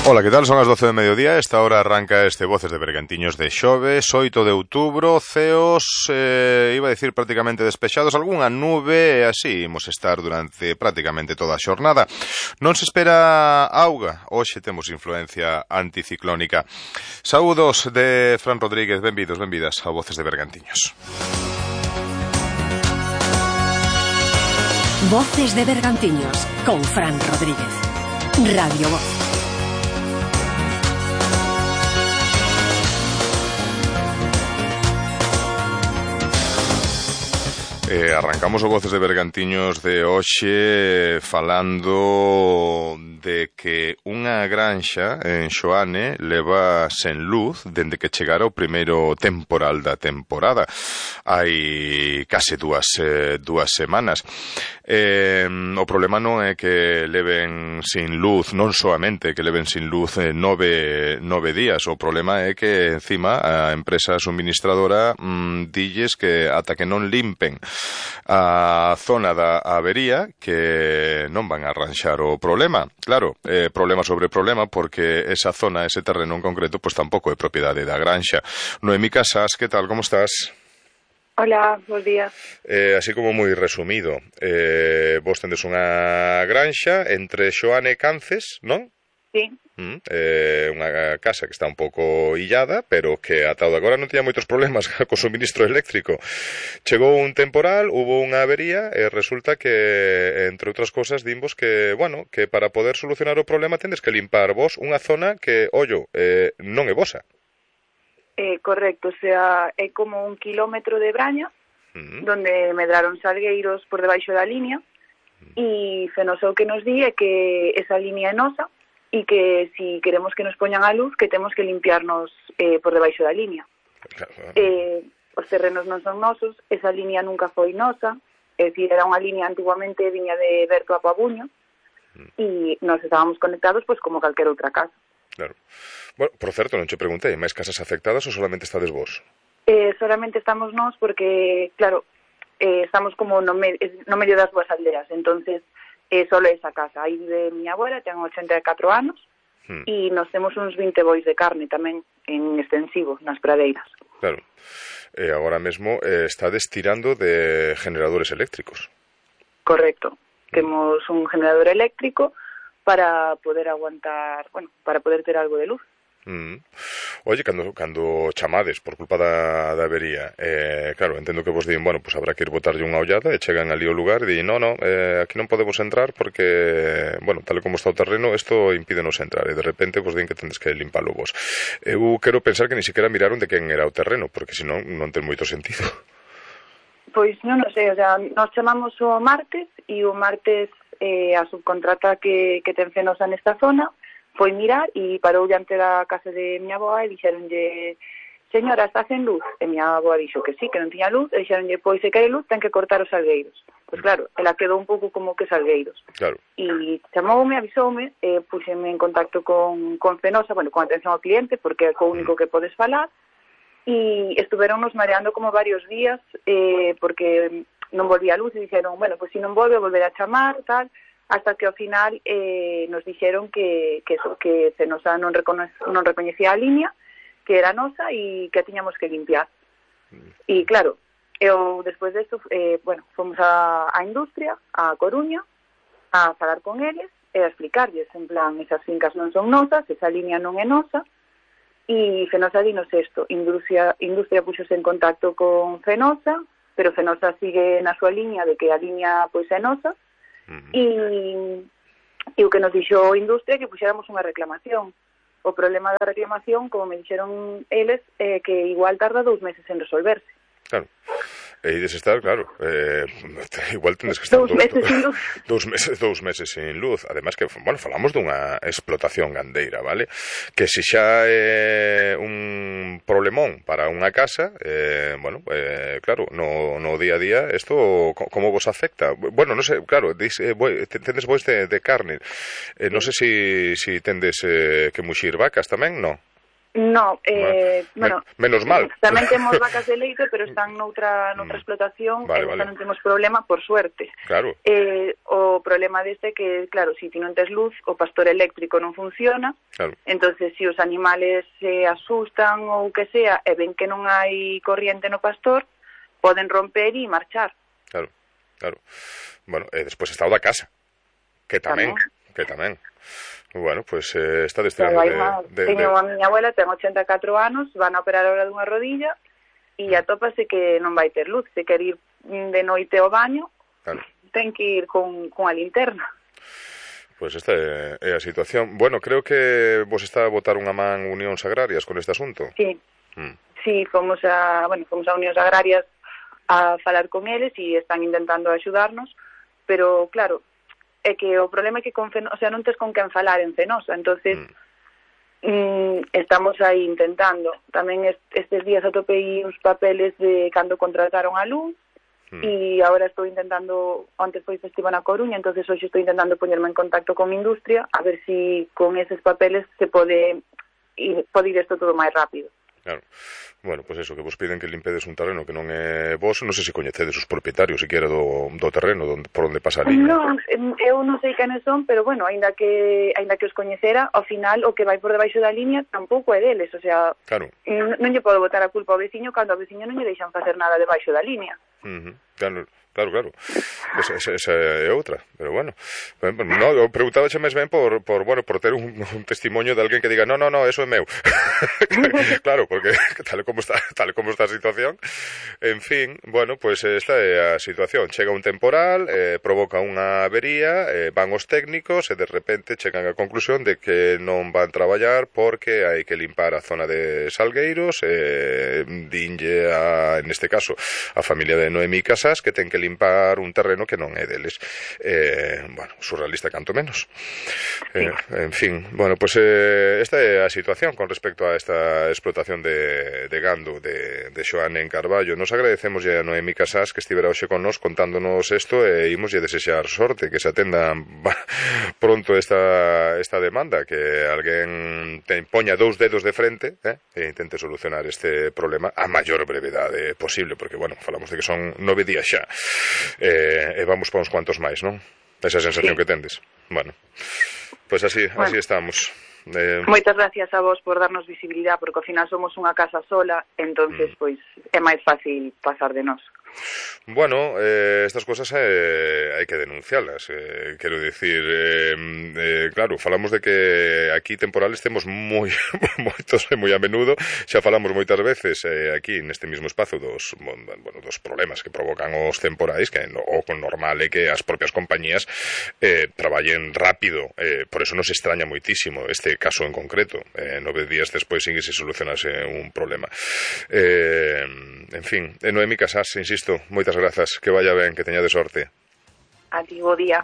Ola, que tal? Son as 12 de mediodía. Esta hora arranca este Voces de Bergantiños de xoves, 8 de outubro, ceos, iba a decir prácticamente despexados, algunha nube, e así imos estar durante prácticamente toda a xornada. Non se espera auga, hoxe temos influencia anticiclónica. Saúdos de Fran Rodríguez, benvidos, benvidas a Voces de Bergantiños. Voces de Bergantiños con Fran Rodríguez. Radio Voz. Arrancamos o Voces de Bergantiños de hoxe falando de que unha granxa en Xoane leva sen luz dende que chegara o primeiro temporal da temporada. Hai case dúas semanas. O problema non é que leven sin luz, non soamente que leven sin luz 9 días, o problema é que encima a empresa suministradora dilles que ata que non limpen a zona da avería que non van a arranxar o problema. Claro, problema sobre problema, porque esa zona, ese terreno en concreto, pois tampouco é propiedade da granxa. Noemí Casas, que tal, como estás? Hola, bons días. Así como moi resumido, vos tendes unha granxa entre Xoane e Cances, non? Sí. Unha casa que está un pouco illada, pero que ata agora non tiña moitos problemas co suministro eléctrico. Chegou un temporal, hubo unha avería e resulta que, entre outras cosas, dimos que, bueno, que para poder solucionar o problema tendes que limpar vos unha zona que, ollo, non é vosa. Correcto, o sea, é como 1 kilómetro de braña, donde medraron salgueiros por debaixo da línea, e Fenosa o que nos di é que esa línea é nosa, e que si queremos que nos poñan a luz, que temos que limpiarnos por debaixo da línea. Os terrenos non son nosos, esa línea nunca foi nosa, é dicir, era unha línea antiguamente viña de Berto a Pabuño, e nos estábamos conectados pois como calquer outra casa. Claro. Bueno, por certo, non che preguntei, máis casas afectadas ou solamente estades vos? Solamente estamos nós porque, claro, estamos como no medio das dúas aldeas, entonces solo esa casa. Aí vive miña abuela, ten 84 anos, e nos temos uns 20 bois de carne tamén en extensivo, nas pradeiras. Claro. Agora mesmo estades tirando de generadores eléctricos. Correcto. Temos un generador eléctrico para poder aguantar, bueno, para poder ter algo de luz. Oye, cando chamades por culpa da avería, claro, entendo que vos din, bueno, pues habrá que ir botarlle unha ollada e chegan ali ao lugar e din, no, aquí non podemos entrar porque, bueno, tal como está o terreno, isto impídenos entrar, e de repente vos din que tendes que limpalo vos. Eu quero pensar que ni siquiera miraron de quen era o terreno, porque senón non ten moito sentido. Pois non sei, o sea, nos chamamos o martes, e o martes a subcontrata que ten Fenosa nesta zona foi mirar e parou diante da casa de miña avoa e dixeronlle, señora, está sen luz? E miña avoa dixo que sí, que non tiña luz, e dixeronlle, pois se quere luz ten que cortar os salgueiros. Pois claro, ela quedou un pouco como que salgueiros. Claro. E chamoume, avisoume, puxeme en contacto con Fenosa, bueno, con atención ao cliente, porque é o único que podes falar, e estuveronnos mareando como varios días, porque non volvía a luz, e dixeron, bueno, pois se non volve, volver a chamar, tal, hasta que ao final nos dixeron que Fenosa non recoñecía a línea, que era nosa e que a tiñamos que limpiar. E claro, eu despois desto, bueno, fomos a industria, a Coruña, a falar con eles e a explicarlles, en plan, esas fincas non son nosas, esa línea non é nosa, e Fenosa dinos isto. Industria puxose en contacto con Fenosa, pero Fenosa sigue na súa línea de que a línea pois é nosa, e o que nos dixo Industria que puxéramos unha reclamación. O problema da reclamación, como me dixeron eles, é que igual tarda 2 meses en resolverse. Claro. E ides estar, claro, igual tendes que estar 2 meses sin luz. 2 meses sin luz. Ademais que, bueno, falamos dunha explotación gandeira, vale? Que se xa é un problemón para unha casa, bueno, claro, no día a día, isto como vos afecta? Bueno, non sei, claro, tendes bois de carne. Non sei se tendes que muxir vacas tamén, non? No, bueno, menos mal. Tamén temos vacas de leite, pero están noutra explotación, vale. non temos problema, por suerte. Claro. O problema deste é que, claro, se ti non tes luz, o pastor eléctrico non funciona, claro. Entonces se os animales se asustan ou que sea, e ven que non hai corriente no pastor, poden romper e marchar. Claro. Bueno, despois está o da casa, que tamén. Bueno, pues está destrando Teño a miña abuela, ten 84 anos, van a operar ahora dunha rodilla e atópase que non vai ter luz. Se quer ir de noite ao baño, ten que ir con a linterna. Pues esta é a situación. Bueno, creo que vos está a botar unha man Unións Agrarias con este asunto. Sí, fomos a Unións Agrarias a falar con eles e están intentando axudarnos, pero claro, é que o problema é que con Fenosa, o sea, non tes con quen falar en Fenosa, entonces estamos aí intentando. Tamén estes días atopei uns papeles de cando contrataron a luz e agora estou intentando, antes foi festivo na Coruña, entonces hoxe estou intentando poñerme en contacto con industria a ver si con eses papeles se pode ir isto todo máis rápido. Claro. Bueno, pues eso, que vos piden que limpedes un terreno que non é vos, non sei se coñecedes os propietarios siquiera do terreno por onde pasa a liña. Non, eu non sei quenes son, pero bueno, aínda que os coñecera, ao final o que vai por debaixo da liña tampouco é deles, o sea, claro. Non lle podo botar a culpa ao veciño cando ao veciño non lle deixan facer nada debaixo da liña. Claro. Esa é outra, pero bueno. No, eu preguntaba máis ben por ter un testimonio de alguén que diga, no, eso é meu. Claro, porque tal como está a situación. En fin, bueno, pues esta é a situación. Chega un temporal, provoca unha avería, van os técnicos e de repente chegan á conclusión de que non van traballar porque hai que limpar a zona de Salgueiros, dinlle neste caso a familia de Noemí Casas que ten que limpar un terreno que non é deles. Bueno, surrealista canto menos. En fin, bueno, pues esta é a situación con respecto a esta explotación de gando de Xoane en Carballo. Nos agradecemos a Noemí Casas que estivera hoxe con nos contándonos isto e imos lle desexar sorte, que se atenda pronto esta demanda, que alguén poña dous dedos de frente e intente solucionar este problema a maior brevedade posible, porque, bueno, falamos de que son 9 días xa. E vamos para uns cuantos máis, non? Esa sensación que tendes. Bueno, pues así estamos. Moitas gracias a vos por darnos visibilidade, porque ao final somos unha casa sola, entonces pois é máis fácil pasar de nós. Bueno, estas cosas hai que denuncialas, quero dicir, claro, falamos de que aquí temporales temos moitos e moi a menudo, xa falamos moitas veces aquí neste mismo espazo dos problemas que provocan os temporais, que o normal é que as propias compañías traballen rápido, por eso nos extraña moitísimo este caso en concreto, 9 días despois sin que se solucionase un problema. En fin, Noemí Casas, insisto, moitas grazas, que vaya ben, que teñades sorte. A ti, bo día.